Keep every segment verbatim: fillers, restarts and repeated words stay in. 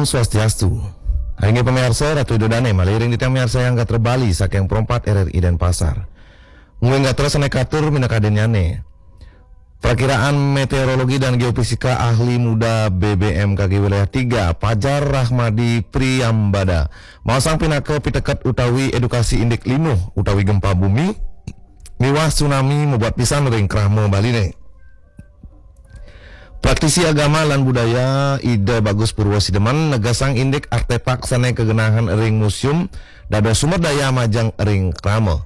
Swastiastu. Inggih pamiarsa, Ratu Ida Dane malih ring titiang miarsayang gatra Bali saking Pro empat R R I Denpasar. Mungguing gatra sane katur minakadinnyane. Prakiraan Meteorologi dan Geofisika Ahli Muda B B M K G Wilayah tiga, Pajar Rahmadi Priyambada, maosang pinaka piteket utawi edukasi indik linuh utawi gempa bumi miwah tsunami mabuat pisan ring krama Baline. Praktisi agama lan budaya Ida Bagus Purwa Sideman negesang indik artefak sane kagenahang ring museum dados sumber daya majeng ring krama.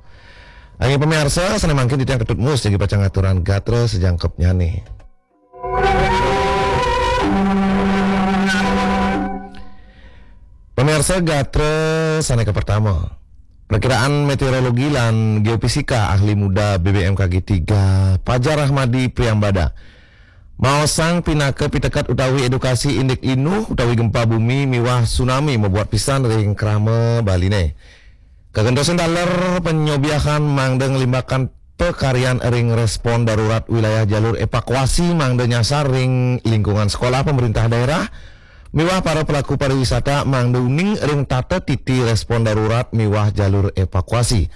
Inggih pamiarsa, sane mangkin titiang Ketut Mus jagi pacang ngaturang gatra sajangkepnyane. Pamiarsa, gatra sane kapertama. Prakiraan Meteorologi lan Geofisika Ahli Muda B B M K G tiga, Pajar Rahmadi Priyambada, maosang pinaka piteket utawi edukasi indik linuh utawi gempa bumi miwah tsunami mabuat pisan ring krama Baline. Kagentosan taler panyobiahan mangda nglimbakan pakaryan ring respon darurat wilayah jalur evakuasi mangda nyasar ring lingkungan sekolah, pemerintah daerah, miwah para pelaku pariwisata mangda uning ring tata titi respon darurat miwah jalur evakuasi.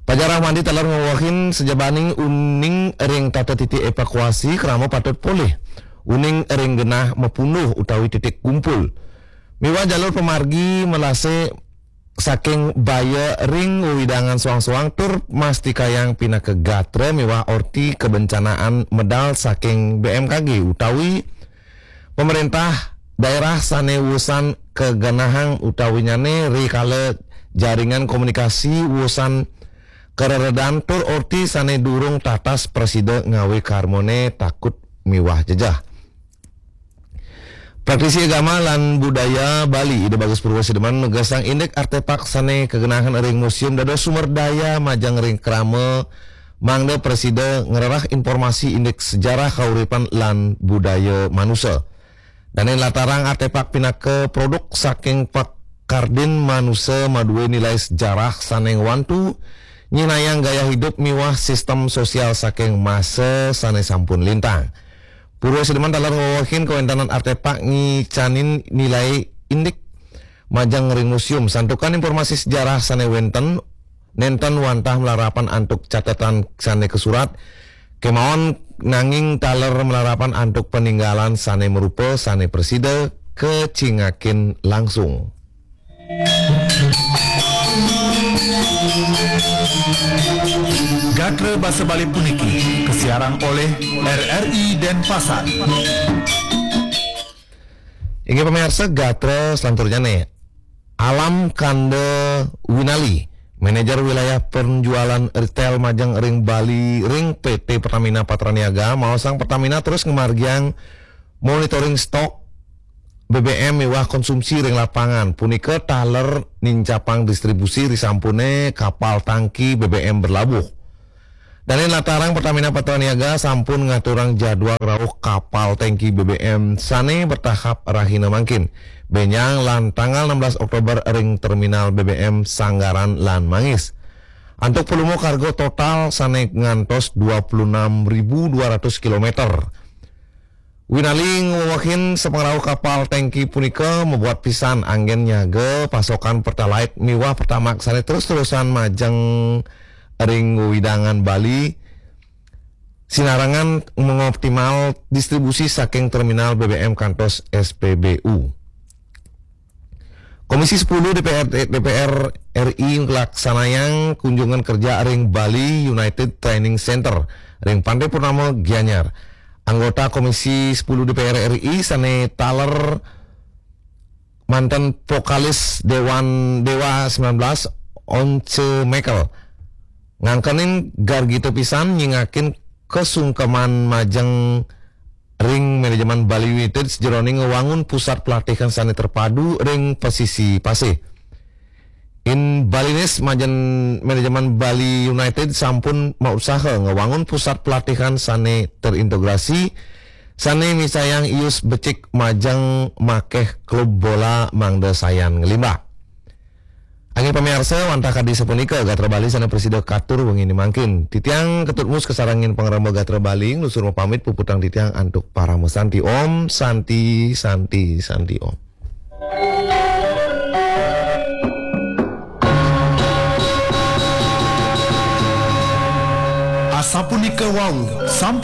Pajar Rahmadi taler ngwewehin sajabaning uning ring tata titi evakuasi, krama patut polih uning ring genah mapunduh utawi titik kumpul. Miwah jalur pamargi melase saking baya ring wewidangan soang-soang tur mastikayang pinaka gatra miwah orti kebencanaan medal saking B M K G utawi pemerintah daerah sane wusan kagenahang utawinyane rikala jaringan komunikasi wusan kareredan tur orti sane durung tatas prasida ngawi karmane takut miwah jejeh. Praktisi agama lan budaya Bali, Ida Bagus Purwa Sideman, nugasang indik artefak sane kagenahang ring museum dados sumber daya majeng ring krama mangda prasida ngrereh informasi indik sejarah kauripan lan budaya manusa. Dane nlatarang artefak pinaka produk saking pakardin manusa madue nilai sejarah sane ngwantu nyinayang gaya hidup miwah sistem sosial saking masa sane sampun lintang. Purwa Sideman taler ngwewehin kawentenan artefak ngicanin nilai indik majeng ring museum. Santukan informasi sejarah sane wenten, nenten wantah malarapan antuk catetan sane kasurat, kemawon nanging taler malarapan antuk paninggalan sane marupa sane prasida kacingakin langsung. Gatra basa Bali puniki kasiarang oleh R R I Denpasar. Inggih pamiarsa, gatra selanturnyane, Alam Kanda Winali, Manajer Wilayah Penjualan Retail Majeng ring Bali ring P T Pertamina Patraniaga, maosang Pertamina terus ngamargiang monitoring stok B B M miwah konsumsi ring lapangan, punika taler nincapang distribusi risampune kapal tangki B B M berlabuh. Dane nlatarang, Pertamina Patraniaga sampun ngaturang jadwal rauh kapal tangki B B M sane bertahap rahina mangkin, benjang lan tanggal enam belas Oktober ring terminal B B M Sanggaran lan Manggis. Antuk volume kargo total sane ngantos dua puluh enam ribu dua ratus kilometer. Winali ngwewehin sapangrauh kapal tangki punika mabuat pisan anggen nyaga pasokan Pertalite miwah Pertamax sane terus-terusan majeng ring wewidangan Bali, sinarengan mengoptimal distribusi saking terminal B B M kantos S P B U. Komisi sepuluh D P R, D P R R I nglaksanayang kunjungan kerja ring Bali United Training Center ring Pantai Purnama, Gianyar. Anggota Komisi sepuluh D P R R I sane taler manten vokalis Dewan Dewa sembilan belas, Once Michael, ngangkenin gargita pisan nyingakin kasungkeman majeng ring manajemen Bali United sajeroning ngwangun pusat pelatihan sane terpadu ring pesisi pasih. In Balinese majeng manajemen Bali United sampun mausaha ngwangun pusat pelatihan sane terintegrasi, sane micayang ius becik majeng makeh klub bola mangda sayan nglimbak. Inggih pamiarsa, wantah kadi sapunika gatra Bali sane prasida katur wengine mangkin. Titiang Ketut Mus kasarengin pangremba gatra Bali nglunsur mapamit, puputang titiang antuk parama santi. Om Santi, Santi, Santi Om. A sampuni kawau, sampuni